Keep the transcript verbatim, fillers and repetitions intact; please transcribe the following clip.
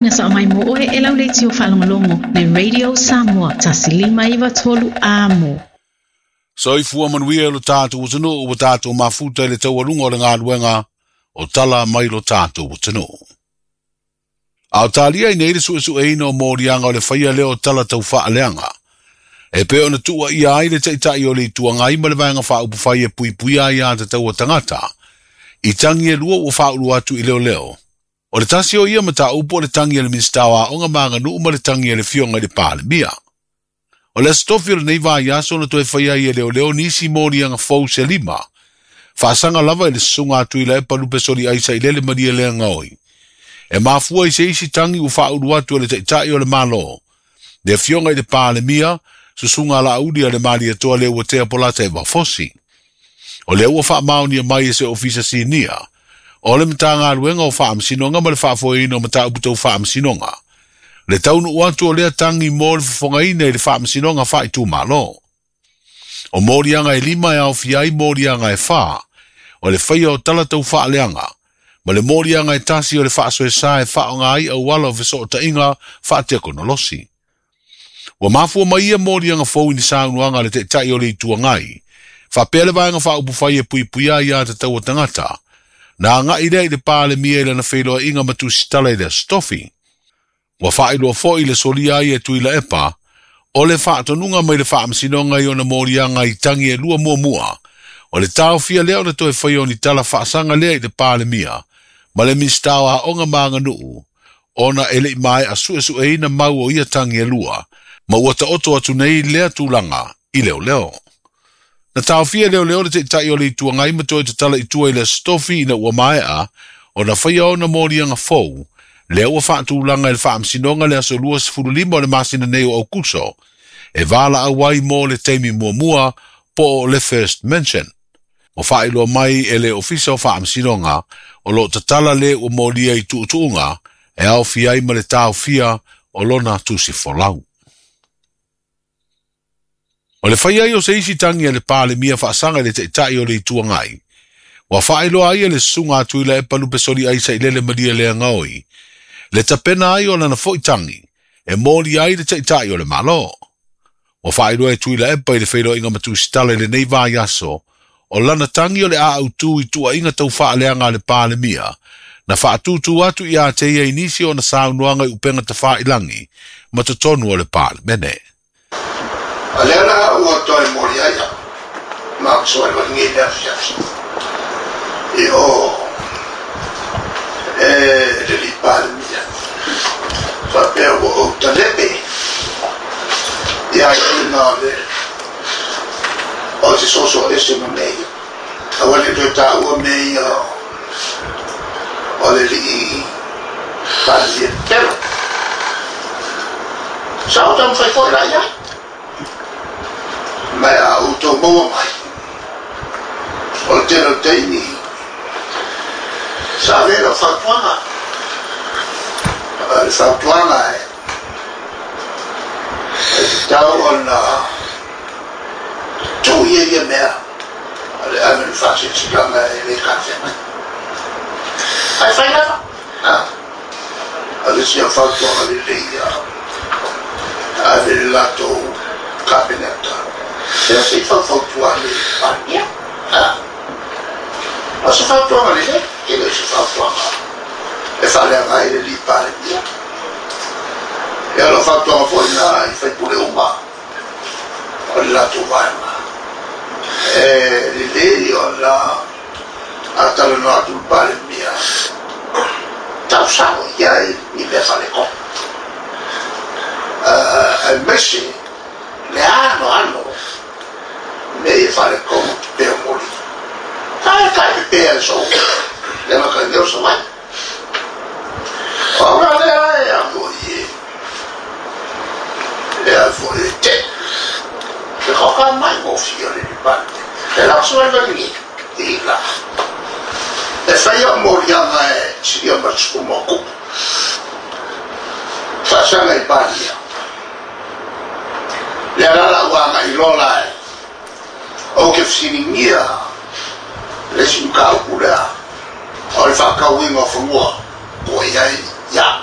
Na sa mai mo oe e lau le tio whaalongolongo le Radio Samoa tasilima iwa tolu amo. Soifua manuia lo tātou atunuu ua tātou mafuta i le taualuga o le galuega o tala mai lo tātou atunuu. A o talia i nei le suesueina o moliaga o le faia lea o tala taufaaleaga. E pei ona tuuaia ai le taʻitaʻi o le Itu Agai ma le vaega faaupufai e puipuia ai a tatau a tagata. I tagi e lua ua faaulu atu i leoleo. O le tasi o ia mataupu o le tagi a le Minisita o Aoga ma Aganuu ma le tagi a le Afioga i le Palemia. O le aso tofi o lenei vaiaso na toe faia ai e leoleo nisi moliaga fou se lima. Faasaga lava i le susuga a Tuilaepa Lupesoli Sailele Malielegaoi. E mafua i se isi tagi ua faaulu atu e le taʻitaʻi o le Malo. Le Afioga i le Palemia, susuga Laauli a le Malietoa Leuatea Polataivao Fosi. O lea ua faamaonia mai e se ofisa sinia. O le Matagaluega o Faamasinoga ma le faafoeina o mataupu tau faamasinoga. Le taunuu atu o lea tagi mo le fofogaina i le faamasinoga faaitumalo. O moliaga e lima e aofia ai moliaga e fā. O le faia o tala tau faaleaga. Ma le moliaga e tasi o le faasoesa e faaoga ai auala o fesootaiga faatekonolosi. Ua mafua mai ia moliaga fou i ni saunoaga a le taʻitaʻi o le Itu Agai. Faapea le vaega faaupufai e puipuia ai a tatau a tagata. Na agai lea i le Palemia i lana feiloaiga ma tusitala i le aso tofi. Ua faailoa foi le solia ai e Tuilaepa o le faatonuga mai le faamasinoga i ona moliaga i tagi e lua muamua. O le taofia lea o le toe faia o ni tala faasaga lea i le Palemia ma le Minisita o Aoga ma Aganuu ona e leʻi maeʻa suesueina mau o ia tagi e lua ma ua taoto atu nei lea tulaga i leoleo. Na taofia leoleo le taʻitaʻi o le Itu Agai ma toe tatala i tua i le aso tofi ina ua maeʻa ona faia ona moliaga fou lea ua faatulaga i le faamasinoga le aso luasefululima o le masina nei o Aukuso e valaau ai mo le taimi muamua po o le first mention. O faailoa mai e le ofisa o faamasinoga o loo tatala le ua molia i tuutuuga e aofia ai ma le taofia o lona tusi folau. O le faia ai o se isi tagi a le Palemia faasaga i le taʻitaʻi o le Itu Agai. Ua faailoa ai e le susuga a Tuilaepa Lupesoli Sailele Malielegaoi. Le tapena ai o lana foi tagi e moli ai le taʻitaʻi o le Malo. Ua faailoa e Tuilaepa i le feiloaiga ma tusitala i lenei vaiaso o lana tagi o le aautū i tuuaiga taufaaleaga a le Palemia na faatūtū atu ia te ia i nisi o na saunoaga i upega tafailagi ma totonu o le Palemene. A lea la ua toe moli ai au, ma au soe wali ngi lea fiafi. I o e le li Palemia. Whapea ua o talepe. I ai ina le o te soso ese ma mea. A wale toe tā ua mea o le li Palemia telo. Sa o tamu whai foi la ia. Mai a utou maua mai. O le tele o teimi. Sa vela fautuaga. Le fautuaga e. E te tau ona tuu ia ia mea. Le ave le faasilasila e le kafea mai. Ai fai lava. A le sia fautuaga lelei ia. Ave le latou kapeneta. Sea se i faufautua le Palemia. O se fautuaga lelei, e le se fautuaga e faaleaga ai le li Palemia. Ia lo fautuaga foi na i faipule uma o le latou vaega. E lelei ona atalanoa atu le Palemia tausao ia i mea faaleko. Aemaise le ano ano me ia faalekomo te pea moli. Kai kai pe pea e so. Le maka leo sa mai. O nga lea e a foi e. E a foi e te. Te koka mai mo fia le lipante. E lau sa mai vali i la. E whaia moliaga e siria matuku mo kupu. Whaasanga i Paria. Le alala uanga i lola e. O ke whasiringia le isi mkaupu lea. O le whakauinga o whanua. Ko ia ia.